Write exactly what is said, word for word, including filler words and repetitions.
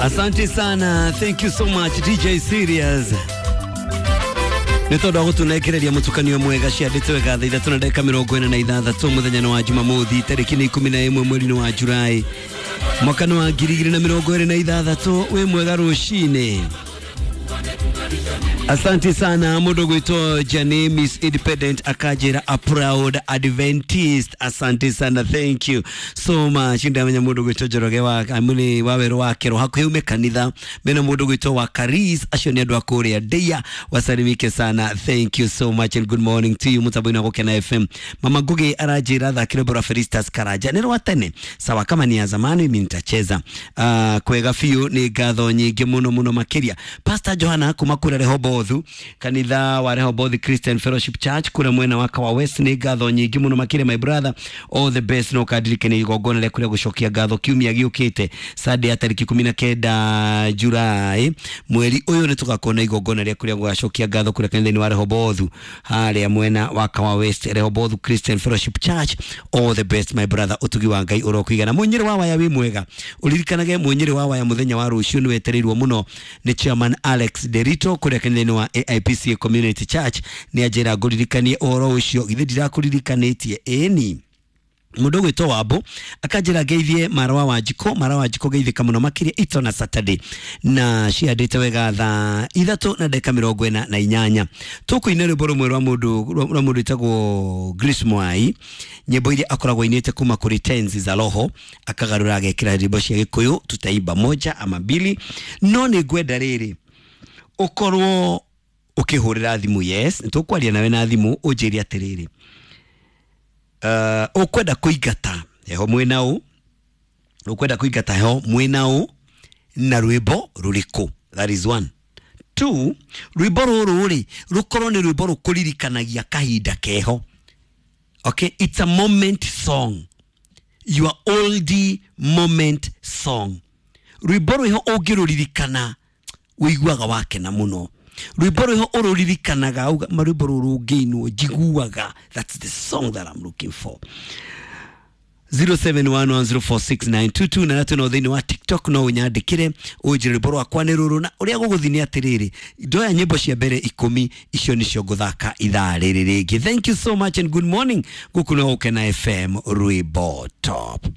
Asante sana, thank you so much D J Serious. Nĩ tondũ wa gũtũnengereria mũtukanio mwega ciandĩtwo wega thaa ithatũ na ndagĩka mĩrongo ĩna na ithathatũ mũthenya wa Jumamothi tarĩki nĩ ikũmi na ĩmwe mweri-inĩ wa Julai mwaka nĩ wa ngiri igĩrĩ na mĩrongo ĩrĩ na ithathatũ. Wĩ mwega rũcinĩ. Asante sana mũndũ gwĩtwo Jane Miss Independent akanjĩra a proud Adventist. Asante sana, thank you so much. Ndamenya mũndũ gwĩtwo Njoroge wa amuni wa werũ wa Kero hakuhĩ ume kanitha mena mũndũ gwĩtwo wa Karis, acio nĩ andũ a kũrĩa Ndeia, wasalimike sana, thank you so much and good morning to you. Mũtambo-inĩ wa Gũkena F M Mama Ngugi aranjĩra thakĩre rwĩmbo rwa Felistas Karanja nĩ rwa tene, sawa kama ni ya zamani mimi nitacheza. Uh, kwega biũ, nĩ ngatho nyingĩ mũno mũno makĩria. Pastor Johana kuma kũrĩa Rehoboth, kanitha wa Rehoboth Christian Fellowship Church kũrĩa mwena wa Kawa West, nĩ ngatho nyingĩ mũno makĩria my brother, all the best. No kandirikane igongona rĩa kũrĩa gũcokia ngatho kiumia gĩũkĩte Sunday ya tarĩki ikũmi na kenda Julai mweri ũyũ, nĩ tũgakorwo na igongona rĩa kũrĩa gũgacokia ngatho kũrĩa kanitha-inĩ wa Rehoboth harĩa mwena wa Kawa West, Rehoboth Christian Fellowship Church. All the best my brother, ũtugi wa Ngai ũrokũigana. Mũnyĩrĩ wa waya wĩ mwega, ũririkanage mũnyĩrĩ wa waya mũthenya wa rũciũ nĩ wetereirwo mũno nĩ chairman Alex Derito kũrĩa kanitha-inĩ wa A I P C Community Church. Nĩ anjĩra ngũririkanie ũhoro ũcio, githĩ ndirakũririkanĩtie? Ĩni mũndũ ũgwĩtwo Wambo akanjĩra ngeithie Marwa wa Njiko, Marwa wa Njiko geithĩka mũno makĩria ito na Saturday na ciandĩte wega thaa ithatũ na ndagĩka mĩrongo ĩna na inyanya. Tũkũina rwĩmbo rũmwe rwa mũndũ rwa mũndũ wĩtagwo Grace Mwai, nyĩmbo iria akoragwo ainĩte kuma kũrĩ Tenzi za Roho, akagarũra agekĩra nyĩmbo cia Gĩkũyũ, tutaimba moja ama mbili. No nĩ ngwenda rĩrĩ ũkorwo ũkĩhũrĩra thimũ, yes nĩtũkwaria nawe na thimũ, ũnjĩre atĩrĩrĩ, uh, ũkwenda kũingata heho mwĩna ũ, ũkwenda kũingata heho mwĩna ũ na rwĩmbo rũrĩkũ? That is one. Two, rwĩmbo rũrũ rĩ rũkorwo nĩ rwĩmbo rũkũririkanagia kahinda keho. Okay, it's a moment song, your oldie moment song. Rwĩmbo rwĩho ũngĩrũririkana ũiguaga wakena mũno. Rwĩmbo rwĩho ũrũririkanaga uga marwĩmbo rũrũ ũngĩinwo njiguaga, that's the song that I'm looking for. zero seven one one zero four six nine two two na natwe no thĩinĩ wa TikTok no ũnyandĩkĩre ũnjĩre rwĩmbo rwakwa nĩ rũrũ. Na ũrĩa gũgũthiĩ nĩ atĩrĩrĩ, ndoya nyĩmbo cia mbere ikũmi, icio nĩcio ngũthaka ithaa rĩrĩ rĩngĩ. Thank you so much and good morning. Gũkũ no Gũkena F M, rwĩmbo top.